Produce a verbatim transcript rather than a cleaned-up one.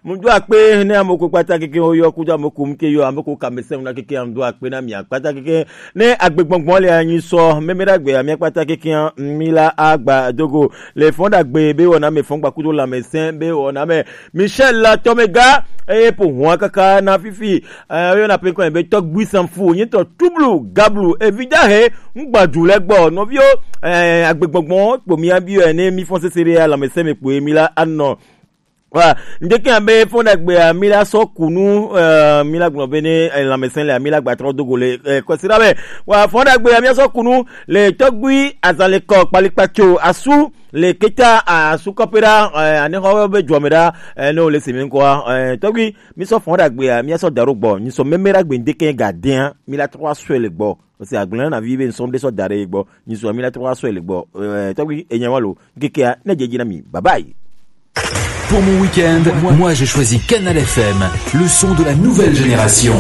Mu do akpe ne ame ko kpata keke wo yɔ kudo ame ko mu ke yɔ ame ko kame se mu na keke mu do akpe na mi kpata keke ne agbegbɔgbɔ le anyi sɔ meme ɖagbe amia kpata keke mi la agba dogo le fɔn ɖagbe be wɔna me fɔn gba kudo lãmesẽ be wɔna me Michel la tɔmega eye po hua kaka na fifi eh, yo na pe ko be tɔgbui sanfu nyi tɔ tublu gablu evidahe ngbadu le gbɔ nɔvio eh, agbegbɔgbɔ kpo mi abi ne mi fɔn sese ɖe lãmesẽ me kpo mi la anɔ Wa ndeke abe fɔn ɖagbe a mi la sɔ kunu eh, mi la gblɔ be ne eh, lãmesẽ le mi la gba trɔ dogo le eh, kɔsi ɖa be wa fɔn ɖagbe a mi la sɔ kunu le tɔgbui azalekɔ kpalikpatso asu le keta asu kɔpe ɖa eh, anexɔ be dzɔme ɖa eh, ne wo le se mi ŋkɔa eh, tɔgbui mi sɔ fɔn ɖagbe a mi la sɔ da ɖo gbɔ nyi sɔ meme ɖagbe ndeke ga dea mi la trɔ asɔe le gbɔ Parce que agblẽ na vi be ŋsɔm ɖe sɔ da ɖe gbɔ. Nyi sɔ mi la trɔ asɔ le gbɔ. Eh, tɔgbi enya wa lo. Kekea ne dzedzi na mi. Bye bye. Pour mon week-end, moi j'ai choisi Canal F M, le son de la nouvelle génération.